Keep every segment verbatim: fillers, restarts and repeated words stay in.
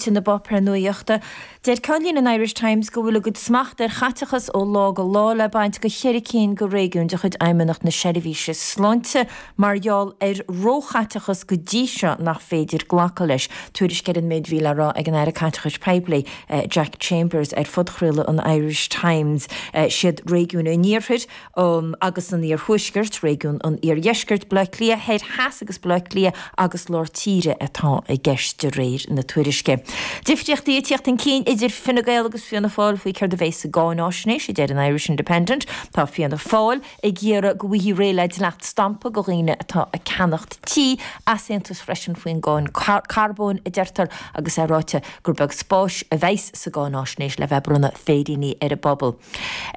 Na bpáipéar nuachta. Deir ceannlíne an Irish Times go bhfuil a gcuid smacht ar chaiteachas ó lá go lá le baint go cheithre cinn de réigiúin de chuid Fheidhmeannacht na Seirbhíse Sláinte mar gheall ar róchaiteachas go dtí seo nach féidir glacadh leis. Tuairisc ar an méid a bhí le rá ag an Aire Caiteachais Poiblí eh, Jack Chambers ar phodchraoladh an Irish Times eh, siad réigiún an Iarthair um, agus an Iarthuaiscirt, réigiún an Iardheiscirt, Baile Átha Cliath Thoir Theas agus Baile Átha Cliath agus lár tíre atá i gceist de réir na tuairisce. Difríochtaí ag teacht chun cinn idir Fine Gael agus Fianna Fáil faoi céard a bheas sa gcáináisnéis a deir an Irish Independent tá Fianna Fáil ag iarraidh go bhfaighfí réidh le dleacht stampa do dhaoine atá ag ceannacht tí easaontas freisin faoin gcáin carbóin a deirtear agus é ráite gur beag spáis a bheas sa gcáináisnéis le bheith ag bronnadh féiríní ar an bpobal.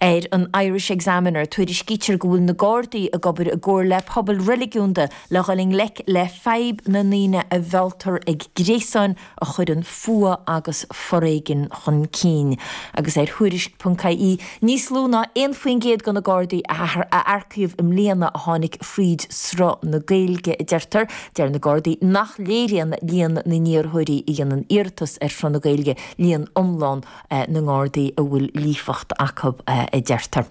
Ar an Irish Examiner tuairiscítear go bhfuil na Gardaí ag obair i gcomhar le pobal reiligiúnda le dhul i ngleic le fadhb na ndaoine a mhealltar ag gréasáin a chuireann fuath agus foréigean chun cinn. Agus ar Thuairisc.ie níos lú ná aon faoin gcéad de na Gardaí a earcaíodh i mbliana a tháinig fríd sruth na Gaeilge a deirtear, deir na Gardaí nach léiríonn líon na n-iarrthóirí a dhéanann iarratas ar shruth na Gaeilge líon iomlán eh, na nGardaí a bhfuil líofacht acu eh, a deirtear.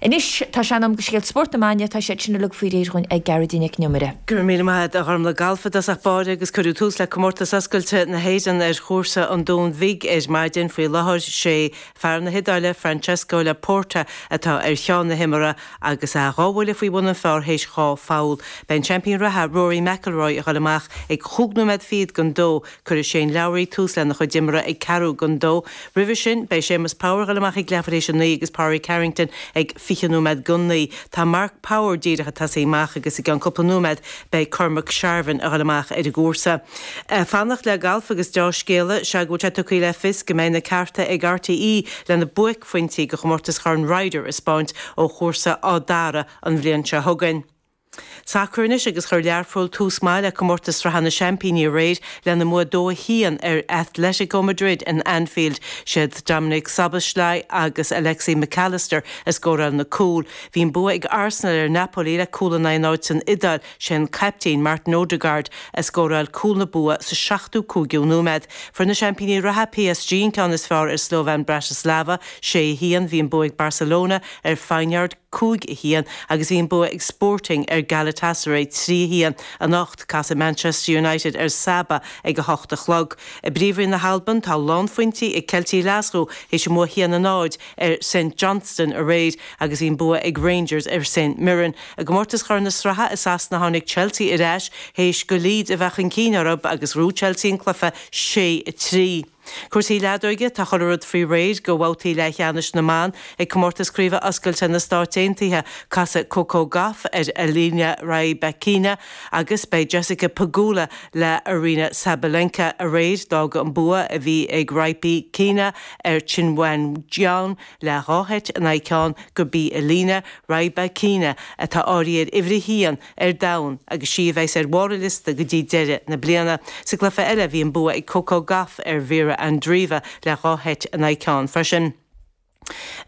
Anois tá sé in am do scéal spóirt na maidine tá sé sin uilig faoi réir againn ag Gearóidín Nic an Iomaire. Go raibh míle maith agat a Ghormlaith Galf i dtosach báire agus cuireadh tús le comórtas oscailte na hÉireann ar chúrsa an Dúin Bhig ar maidin faoi láthair sé fear na hIodáile Francesco Laporta atá ar cheann na himeartha agus a dhá bhuille faoi bhun an phar théis dhá pholl. Beidh an seaimpín reatha Rory McIlroy ag dul amach ag cúig nóiméad fichead don dó cuirfidh Shane Lowry tús lena chuid imeartha ag ceathrú don dó. Roimhe sin beidh Séamus Power ag dul amach ag leathuair théis a naoi agus Pádraig Harrington ag fiche nóiméad don naoi. Tá Mark Power díreach ag tosaí amach agus i gceann cúpla nóiméad beidh Cormac Sharvin ag dul amach ar an gcúrsa. Fanacht le galf agus dea-scéala sé go bhfuil sé tugtha le fios go mbeidh na cearta ag RTÉ lena buaicphointí de chomórtas Chorn Ryder a spáint ó chúrsa Áth Dara an bhliain seo chugainn. Sacar anois agus chuir Learpholl tús maith le comórtas sraithe na seaimpíní aréir lena mbua dó a haon ar Atletico Madrid in Anfield siad Dominic Szoboszlai agus Alexis Mac Allister a scóráil na cúil. Bhí an bua ag Arsenal ar Napoli le cúl in aghaidh náid san Iodáil sé caiptín Martin Odegaard a scóráil cúl na bua sa seachtó cúigiú nóiméad. Fuair na seaimpíní reatha PSG an ceann is fearr ar Slovan Bratislava sé a haon bhí an bua ag Barcelona ar Feyenoord cúig a haon agus bhí an bua ag Sporting ar Galatasaray trí a haon anocht casfaidh Manchester United ar Sabah ag a hocht a chlog. I bPríomhroinn na hAlban tá lánphointí ag Ceiltigh Ghlaschú théis a mbua haon a náid ar St Johnstone aréir agus bhí an bua ag Rangers ar St Mirren. I gcomórtas Chorn na Sraithe i Sasana tháinig Chelsea ar ais théis do Leeds a bheith chun cinn orthu agus bhuaigh Chelsea an cluiche sé a trí. Cúrsaí leadóige tá chuile rud faoi réir do bhabhtaí leathcheannais na mban ag comórtas craoibhe oscailte na Stát Aontaithe casfaidh Coco Gauff ar Elena Rybakina agus beidh Jessica Pegula le Aryna Sabalenka aréir d'fhág an bua a bhí ag Rybakina ar Qinwen Zheng le dhá sheit in aghaidh ceann gurb í Elena Rybakina atá áirithe ar uimhir a haon ar domhan agus sí a bheas ar bharr an liosta go dtí deireadh na bliana. Sa gcluiche eile bhí an bua ag Coco Gauff ar Mirra Andreeva le dhá sheit in aghaidh ceann freisin.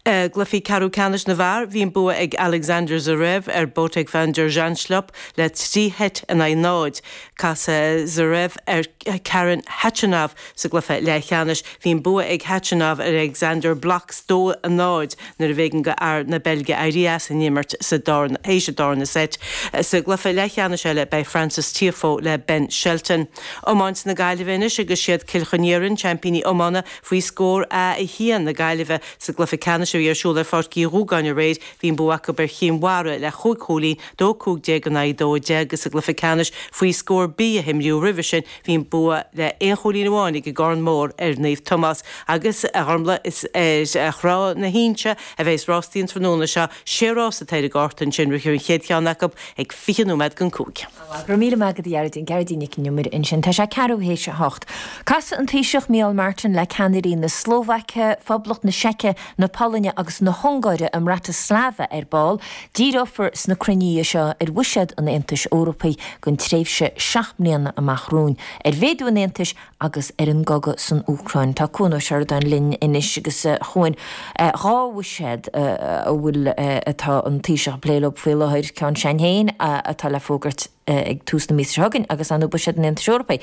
Uh, Cluichí ceathrú ceannais na bhfear bhí an bua ag Alexander Zverev ar Botic van der Zandschulp le trí sheit in aghaidh náid. Casfaidh Zverev ar Karen Khachanov sa gcluiche leathcheannais bhí an bua ag Khachanov ar Alexander Blockx dó a náid nuair a b'éigean do fhear na Beilge éirí as an imirt sa théis an darna seit. Sa gcluiche leathcheannais eile beidh Frances Tiafoe le Ben Shelton. Iomáint na Gaillimhe anois agus siad Cill Chainnigh seaimpíní iomána faoi scór a a haon na Gaillimhe sa gcluiche ceannais a bhí ar siúl ar Pháirc Uí Dhúgáin aréir bhí an bua acu ar Chinn Mhara le chúig chúilín dó cúig déag in aghaidh dó deich agus sa gcluiche ceannais faoi scór B a himríodh roimhe sin bhí an bua le aon chúilín amháin ag an gCarn Mór ar Naomh Tomás agus a Ghormlaith is ar Thrá na hInse a bheas rástaí an tráthnóna seo sé rás atá ar an gcárta ansin rithfear an chéad cheann acu ag fiche nóiméad don cúig. Go raibh míle maith agat a Ghearóidín Gearóidín Nic an Iomaire ansin tá sé ceathrú théis a hocht. Casfaidh an Taoiseach Micheál Martin le ceannairí na Slóvaice, Phoblacht na Seice, na Polainne agus na hUngáire i mBratislava ar ball. Díreofar sna cruinnithe seo ar bhuiséad an Aontais Eorpaigh don tréimhse seacht mbliana amach romhainn, ar mhéadú an Aontais agus ar an gcogadh san Úcráin. Tá Cuan Ó Seireadáin linn anois agus a Chuain, dhá bhuiséad a bhfuil atá an Taoiseach ag plé leo faoi láthair, ceann s'againn féin atá le fógairt ag tús na míosa seo chugainn agus ar ndóigh buiséad an Aontais Eorpaigh.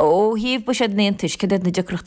Ó thaobh buiséad an Aontais, cad iad na deacrachtaí